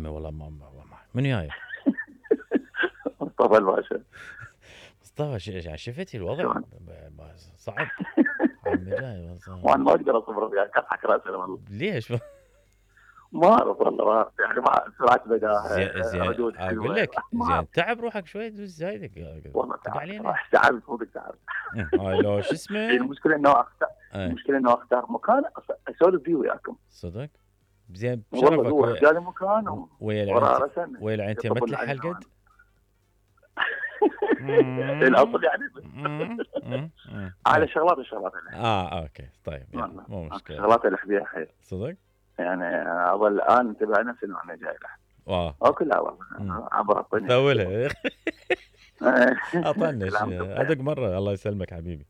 عمي والله من جاي؟ مصطفى الباشا. مصطفى شفتي الوضع صعب. عمي جاي وانا ما اقدر اصبر وياك، اضحك راسي والله. ليش؟ ما اعرف والله، ما أعرف. يعني مع سرعه بداهه، زين ردود اقول حلوه، لك ما زين أعرف. تعب روحك شوي دوز زايدك والله تقع تعبت علينا. صراحه، تعبت مو تعبت. هاي لو شو اسمه. المشكله انه اختار ايه المشكله انه اختار مكان اسولف فيه وياكم. صدق زين والله بشرفك هو اختار مكان ويا وراه العنتي رسم ويا العنتي ما يطبل تلح علينا. القد. الاصل يعني على شغلات اوكي طيب يعني مو مشكله. شغلات اللي فيها حيل صدق يعني. اظل الان انتبه نفسي انه انا جاي له اكلها والله عبر الطنجة ثولها اطنش ادق مره. الله يسلمك حبيبي.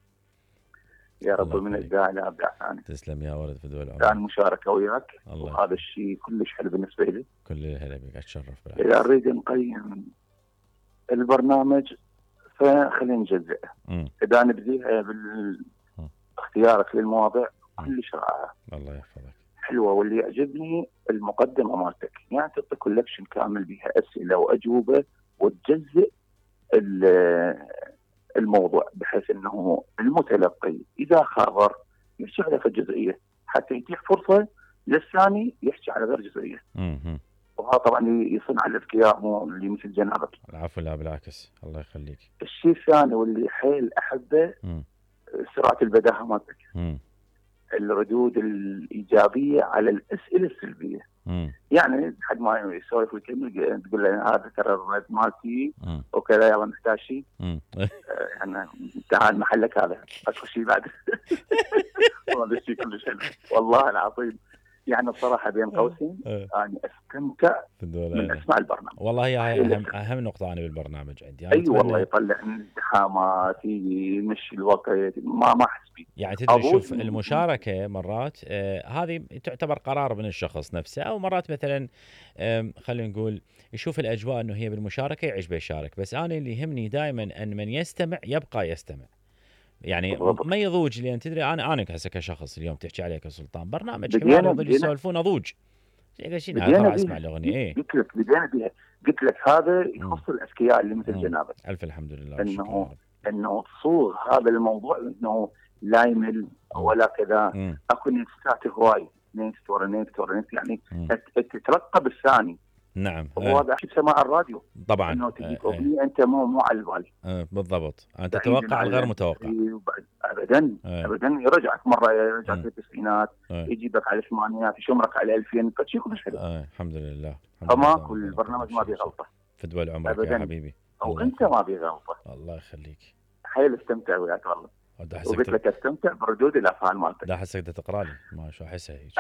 يا رب، من الداعي لابدع ثاني. تسلم يا ولد فدوى العمر. كان مشاركه وياك وهذا الشيء كلش حلو بالنسبه لي. كل الهلا بك، اتشرف بالعكس. اذا نريد نقيم البرنامج فخلينا نجزئه. اذا نبديها باختيارك للمواضيع كلش رائعه. الله يحفظك. حلوه، واللي يعجبني المقدمه مالتك، يعني تعطي كولكشن كامل بها اسئله واجوبه وتجزئ الموضوع بحيث انه المتلقي اذا خابر يحكي على جزئيه حتى يتيح فرصه للثاني يحكي على غير جزئيه. وهذا طبعا يصنع الاذكياء مو اللي مثل جنابك. العفو، لا بالعكس الله يخليك. الشيء الثاني واللي حيل احبه سرعه البداهه مالتك. الردود الايجابيه على الاسئله السلبيه. يعني حد ما يسولف ويكمل تقول له هذا ترى الرد مالتي وكذا، يلا نحتاج شيء يعني تعال محلك هذا اكو شيء بعد. والله الشيء كلش حلو والله العظيم. يعني الصراحه بين قوسين انا استمتع من اسماع البرنامج. والله هي اهم نقطه انا بالبرنامج عندي. اي والله يطلع ازدحامات، يمشي الوقت، ما احس بيه. يعني تدري شوف المشاركه مرات هذه تعتبر قرار من الشخص نفسه، او مرات مثلا خلينا نقول يشوف الاجواء انه هي بالمشاركه يعجبه يشارك. بس انا اللي يهمني دائما ان من يستمع يبقى يستمع، يعني ما يضوج. لان تدري انا هسه كشخص اليوم تحكي عليك سلطان برنامج حوار يظل يسولفون اضوج شيء اسمع الاغنيه. ايه قلت لك هذا يخص الاذكياء اللي مثل جنابك. الف الحمد لله. انه تصوغ هذا الموضوع انه لا يمل ولا كذا. اكو نكستات هواي، نكست ورا نكست ورا نكست، يعني تترقب الثاني. نعم. وهذا شيء بسماع الراديو طبعا. انه تجيك اغنيه انت مو على البال. بالضبط. انت تتوقع الغير متوقع. ابدا يرجعك مره، يرجعك في التسعينات، يجيبك على الثمانينات، يشمرك على 2000، فشيء كلش حلو. الحمد لله. فماكو البرنامج ما بيه غلطه. فدوى عمرك يا حبيبي. وانت ما بيه غلطه. الله يخليك. حيل استمتع وياك والله. وقلت لك استمتع بردود الافعال مالتك. لا حسك تقرا لي ما شو احسها هيك.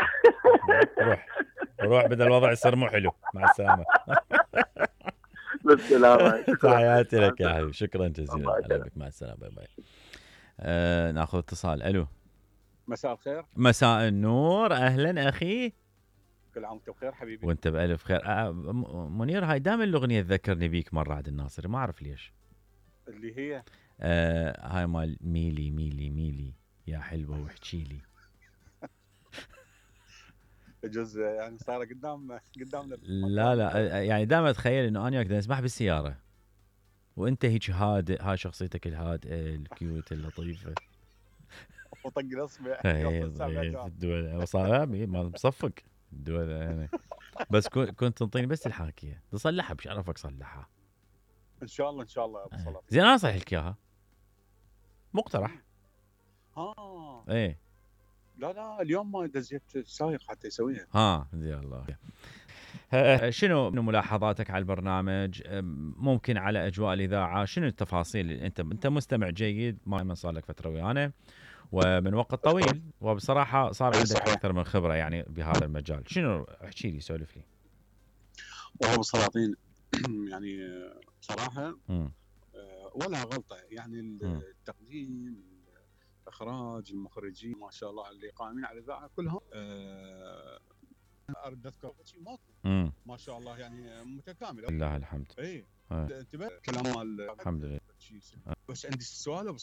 روح بدل الوضع يصير مو حلو. مع السلامه. بالسلامه. تحياتي لك يا حبيبي، شكرا جزيلا. هلا بك، مع السلامه. باي باي. ناخذ اتصال. الو. مساء الخير. مساء النور، اهلا اخي. كل عام وانت بخير حبيبي. وانت بالف خير. منير، هاي دائما الاغنيه تذكرني بيك مره عبد الناصر، ما اعرف ليش. اللي هي هاي مال ميلي ميلي ميلي يا حلوه واحكي لي. جزء يعني صار قدامنا. لا يعني دائما اتخيل انه انا وياك نسمح بالسياره وانت هيك هادئ، هاي شخصيتك الهادئه الكيوت اللطيفه. وطق الاصبع. الدول صار ما مصفق الدول يعني. بس كنت تنطيني بس الحاكيه تصلحها، بشرفك صلحها ان شاء الله يا ابو صلاح. زين انا صحيح لك اياها مقترح. ايه لا اليوم ما دزيت سايق حتى يسويها. زين الله. شنو ملاحظاتك على البرنامج؟ ممكن على اجواء الاذاعه، شنو التفاصيل؟ انت مستمع جيد، ما صار لك فتره ويانا ومن وقت طويل، وبصراحه صار عندك اكثر من خبره يعني بهذا المجال. شنو احكي لي، سولف لي. والله ابو سلاطين يعني صراحه ولا غلطه، يعني التقديم، الاخراج، المخرجين ما شاء الله اللي قائمين على الاذاعه كلهم ارد اذكر شيء ماكو ما شاء الله، يعني متكامل. لله الحمد. اي انتبه كلام الحمد لله. بس عندي سؤال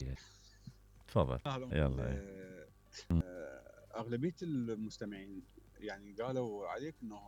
تفضل. يلا. اغلبيه المستمعين يعني قالوا عليك انه